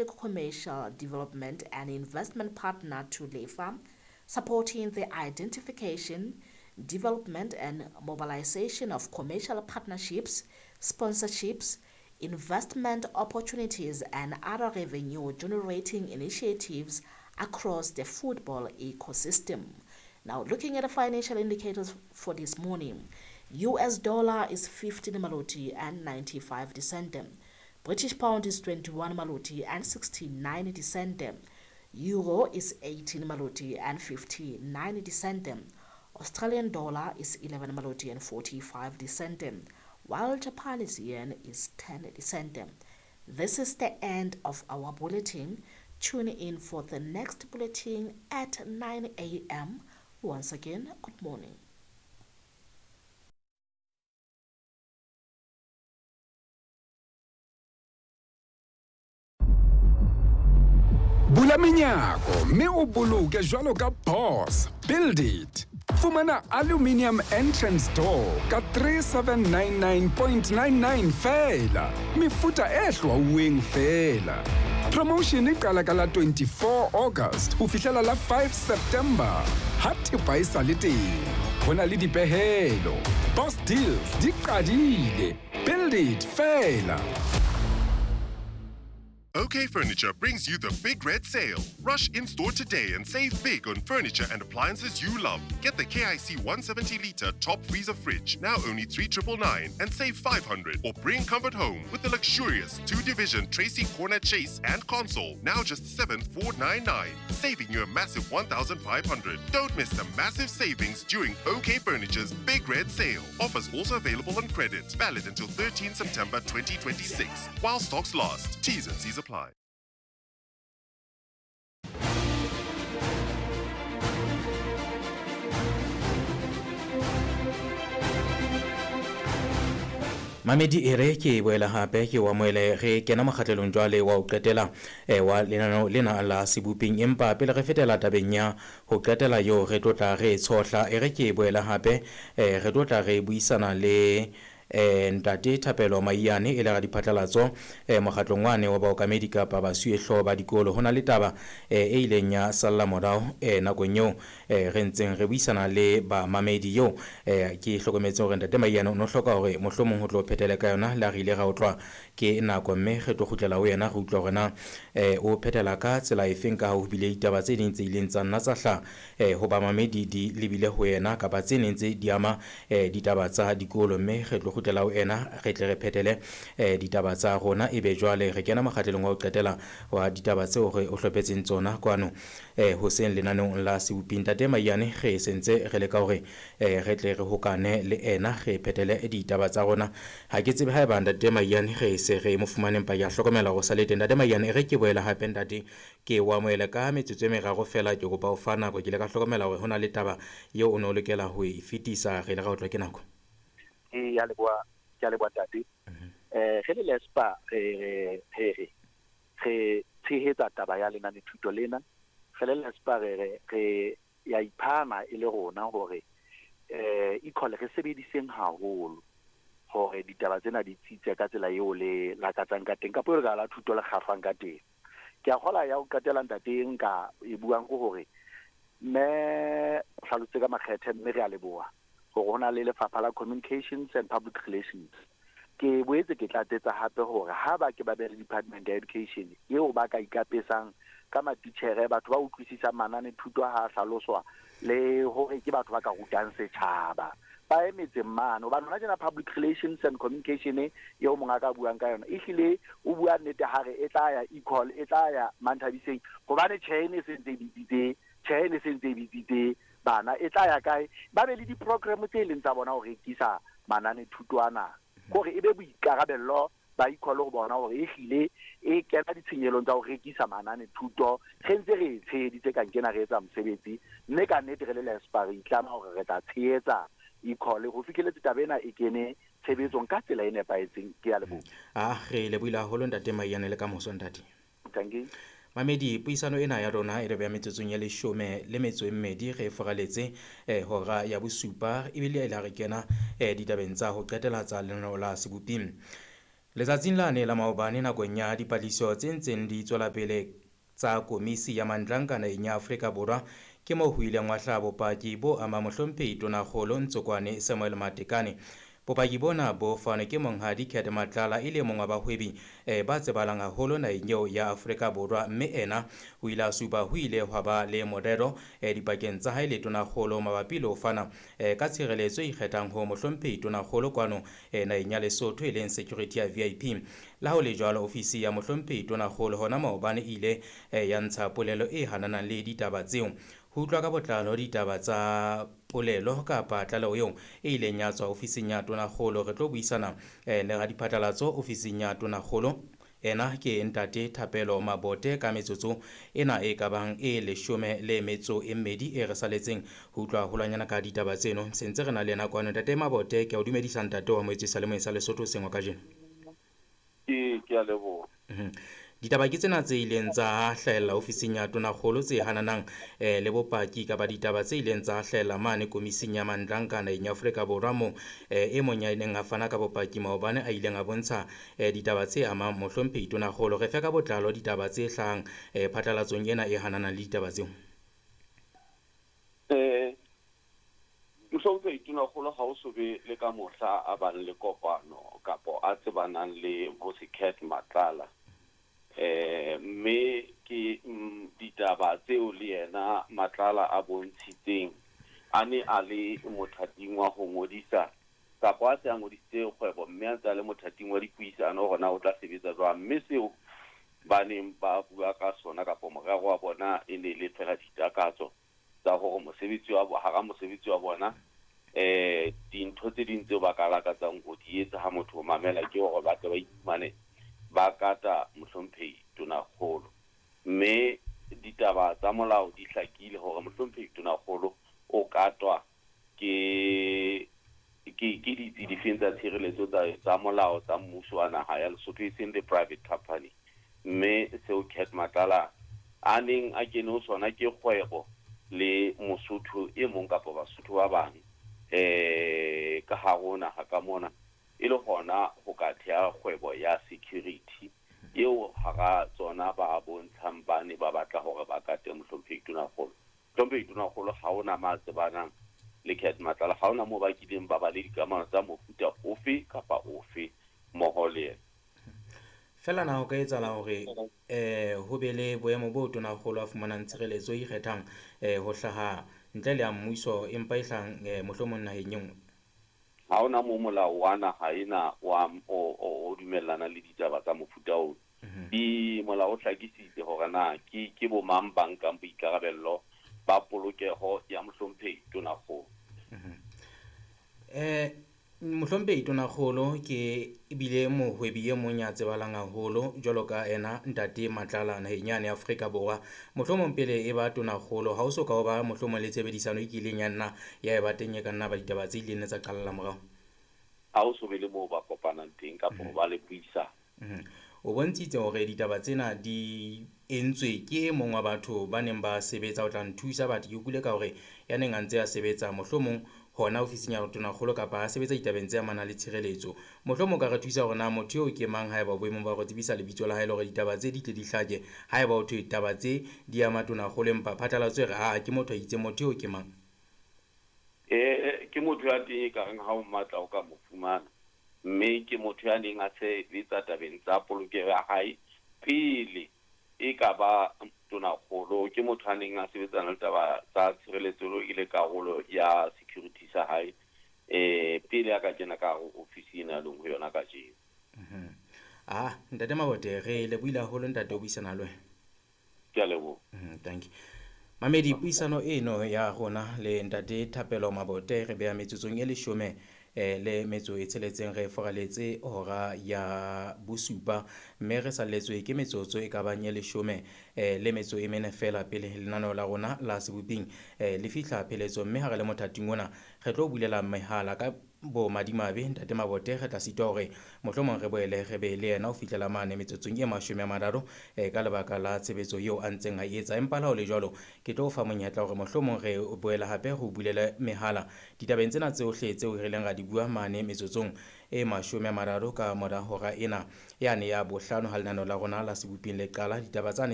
Commercial development and investment partner to LEFA, supporting the identification, development and mobilization of commercial partnerships, sponsorships, investment opportunities and other revenue-generating initiatives across the football ecosystem. Now, looking at the financial indicators for this morning, US dollar is 15 maloti and 95 cent. British pound is 21 maloti and 69 cent. Euro is 18 maloti and 59 cent. Australian dollar is 11 maloti and 45 cent, while Japanese yen is 10 cent. This is the end of our bulletin. Tune in for the next bulletin at 9 a.m. Once again, good morning. Bula menyako mme o boloke jwalo ka boss. Build it. Fumana aluminium entrance door ka 3799.99 feela. Mefuta e hlwauweng feela. Promotion e qala ka la 24 August ho fihlela la 5 September. Ha thepa e sa le teng, ho na le dipehelo. Boss deals di qadile. Build it feela. OK Furniture brings you the Big Red Sale. Rush in-store today and save big on furniture and appliances you love. Get the KIC 170-litre top freezer fridge, now only 3999 and save 500. Or bring comfort home with the luxurious 2-division Tracy Corner Chase and console, now just 7499, saving you a massive 1,500. Don't miss the massive savings during OK Furniture's Big Red Sale. Offers also available on credit. Valid until 13 September 2026. While stocks last. T's and C's apply. Mamedi e re ke boela hape ke wa moele re kena mokgatlelong jwale wa ho qetela wa lenaneo lena la seboping, empa pele re fetela tabeng ya ho qetela yo re tlotla re tshohla e re ke boela hape re tlotla re buisana le ntate Thapelo Maiyane e le ra diphatlalatso mokgatlong wane wa baokamedi kapa basuehloho ba dikolo. Ho na le taba e ileng ya salla morao nakong eo re ntseng re buisana le bamamedi eo ke hlokometse hore ntate Maiyane o no hloka hore mohlomong ho tlo phethele ka yona la re ile ra utlwa ke nako, mme re tlo kgutlela ho yena re utlwa hore na o phethela ka tsela efeng ka ho bile ditaba tse ding tse ileng tsa nna tsa hla ho bamamedi di lebile ho yena kapa tse neng tse di ama ditaba tsa dikolo, mme re tlo kgutlela ho ena re tle re phethele ditaba tsa rona. Ebe jwale re kena mokgatlelong wa ho qetela wa ditaba tseo re o hlophetseng tsona kwano hoseng lenaneong la Seboping. Ntate Maiyane re sentse re leka hore re tle re hokane le ena re phethele ditaba tsa rona. Ha ke tsebe haeba ntate Maiyane re se re mo fumaneng pa ya hlokomela hore sa le teng. Ntate Maiyane re ke boela hape ntate ke wa moela ka metsotso e meraro fela, ke kopa o fa nako. Ke ile ka hlokomela hore ho na le taba eo o ne o lokela ho e fetisa, re ile ra utlwa ke nako. Ya leboha, ke a leboha ntate. Re le LESPA re re tshehetsa taba ya lenane thuto lena. Re le LESPA re ya iphana e le rona hore equal re sebediseng haholo hore ditaba tsena di tsitse ka tsela eo le lakatsang ka teng kapa re la thuto le kgafang ka teng. Ke a kgola ya ho qetela ntate nka e buang ke hore mme hlalositse ka makgethe, mme re a leboha hore ho na le lefapha la Communications and Public Relations. Ke boetse ke tlatsetsa hape hore ha ba ke ba be le Department ya Education eo ba ka ikapesang ka matitjhere, batho ba utlwisisang manane thuto ha hlaloswa le hore ke batho ba ka rutang setjhaba ba emetseng mane. Hobane hona tjena Public Relations and Communication eo monga ka buang ka yona ehlile o bua nnete hare e tla ya equal e tla ya Manthabiseng, hobane tjhe e sentse e bitsitse, tjhe e sentse e bitsitse bana e tla ya kae. Ba be le di-program tse leng tsa bona ho rekisa manane thuto ana, hore e be boikarabello ba equal ho bona hore ehlile e kena ditshenyelong tsa ho rekisa manane thuto. Re ntse re tsheheditse ka nkena re etsa mosebetsi, mme ka nnete re le LESPA re itlama hore re tla tshehetsa equal ho fihleletse taba ena e kene tshebetsong ka tsela e nepahetseng. Ke a leboha. Re lebohile haholo ntate Maiyane le ka moso ntate. Thank you. Mamedi, puisano ena ya rona e re beha metsotsong ya 12 re foraletse hora ya bosupa, ebile e la re kena ditabeng tsa ho qetela tsa lenaneo la Seboping. Letsatsing lane la maobane nakong ya dipatlisiso tse ntseng di tswela pele tsa komisi ya Mandlanka naheng ya Afrika Borwa ke moo ho ileng wa hlaha bopaki bo ama mohlomphehi Tonakgolo Ntsokoane Samuel Matekane. Bopaki bona bo fanwe ke monghadi Cat Matlala e le mong wa bahwebi ba tsebahalang haholo naheng eo ya Afrika Borwa, mme ena o ile a supa ho ile hwa ba le morero dipakeng tsa hae le Tonakgolo mabapi le ho fana ka tshireletso e ikgethang ho mohlomphehi Tonakgolo kwano naheng ya Lesotho e leng security ya VIP. Le ha ho le jwalo, ofisi ya mohlomphehi Tonakgolo hona maobane e ile ya ntsha polelo e hananang le ditaba tseo. Ho utlwa ka botlalo ditaba tsa polelo kapa tlaleho eo e ileng ya tswa ofising ya Tonakgolo, re tlo buisana le radiphatlalatso ofising ya Tonakgolo. Ena ke ntate Thapelo Mabote ka metsotso ena e ka bang e 12 e re saletseng ho utlwa haholwanyana ka ditaba tseno. Se ntse re na le yena kwano. Ntate Mabote, ke a o dumedisa ntate wa moetswe sa le moeng sa Lesotho sengwa kajeno. Ke a leboha. Ditaba ke tsena tse ileng tsa hlahella ofising ya Tonakgolo tse hananang le bopaki kapa ditaba tse ileng tsa hlahella mane komising ya Mandlanka naheng ya Afrika Borwa moo e mong ya neng a fana ka bopaki maobane a ileng a bontsha ditaba tse amang mohlomphehi Tonakgolo. Re fe ka botlalo ditaba tse hlahang phatlalatsong ena e hananang le ditaba tseo. Mohlomphehi Tonakgolo ha o so be le ka mohla a bang le kopano kapo a tsebanang le bo Cat Matlala. Mme ke ditaba tseo le yena Matlala a bontshitseng a ne a le mothating wa ho ngodisa kapa a se a ngodisitse kgwebo, mme a ntse a le mothating wa dipuisano hore na o tla sebetsa jwang. Mme seo ba neng ba bua ka sona kapa morero wa bona e ne le fela ditakatso tsa hore mosebetsi wa hara mosebetsi wa bona dintho tse ding tseo ba ka lakatsang ho di etsa ha motho o mamela ke hore ba tle ba iphumane ba kata mohlomphehi Tonakgolo. Mme ditaba tsa molao di hlakile hore mohlomphehi Tonakgolo o katwa ke ditsi difeng tsa tshireletso tsa molao tsa mmuso wa naha ya Lesotho, e seng the private company. Mme seo Cat Matlala a neng a kene ho sona ke kgwebo le Mosotho e mong kapa Basotho ba bang ka hare ho naha ka mona, e le hona ho ka theha kgwebo ya security eo hara tsona ba bontshang ba ne ba batla hore ba kate mohlomphehi Tonakgolo. Mohlomphehi Tonakgolo ha hona ma tsebanang le Cat Matlala, ha hona moo ba kileng ba ba le dikamano tsa mofuta ofe kapa ofe mmoho le yena. Fela na ho ka etsahala hore ho be le boemo bo Tonakgolo a fumanang tshireletso e ikgethang ho hlaha ntle le ya mmuso empa e hlahang mohlomong naheng e nngwe? Ha hona moo molao wa naha ena wa o dumellana le ditaba tsa mofuta oo. Di molao o hlakisitse hore na ke bo mang ba nkang boikarabello ba polokeho ya mohlomphehi Tonakgolo. Mohlomphehi Tonakgolo ke ebile mohwebi e mong ya tsebahalang haholo jwalo ka ena ntate Matlala naheng yane ya Afrika Borwa. Mohlomong pele e ba Tonakgolo ha o so ka o ba mohlomong le tshebedisano e kileng ya nna ya eba teng e ka nna ba ditaba tse ileng tsa qala morao. Ha o so be le moo ba kopanang teng kapa ho ba le puisano. O bontshitse hore ditaba tsena di entswe ke e mong wa batho ba neng ba sebetsa ho tla nthusa batho. Ke utlwile ka hore ya neng a ntse a sebetsa mohlomong hona ofising ya Tonakgolo kapa a sebetsa ditabeng tse amanang le tshireletso. Mohlomong o ka re thusa hore na motho eo ke mang haeba boemong ba ho tsebisa lebitso la hae le hore ditaba tse di tle di hlake. Haeba ho thwe taba tse di ama Tonakgolo empa phatlalatso e re ha ke motho a itseng, motho eo ke mang? Ke motho ya teng e ka reng ha o mmatla o ka mo fumana. Mme ke motho ya neng a sebetsa tabeng tsa polokeho ya hae pele e ka ba Tonakgolo. Ke motho a neng a sebetsana le taba tsa tshireletso e le karolo ya security sa hae pele a ka kena ka hare ofisi ena a leng ho yona kajeno. Ntate Mabote, re lebohile haholo ntate ho buisana le wena. Ke a leboha. Thank you. Mamedi, puisano eno ya rona le ntate Thapelo Mabote re beha metsotsong e 16 re foraletse hora ya 7, mme re salletswe ke metsotso e ka bang e 14 fela pele lenaneo la rona la seboping le fihla pheletso. Mme ha re le mothating ona re tlo bulela mehala ka Bo madimabe ntate Mabote re tla sitwa hore mohlomong re boele re be le yena ho fihlela mane metsotsong e 30 ka lebaka la tshebetso eo a ntseng a etsa. Empa le ha ho le jwalo, ke tlo fa monyetla hore mohlomong re boele hape re o bulele mehala ditabeng tsena tsohle tseo re ileng ra di bua mane metsotsong e 30 ka mora hora ena yane ya bohlano ha lenaneo la rona la Seboping le qala. Ditaba tsane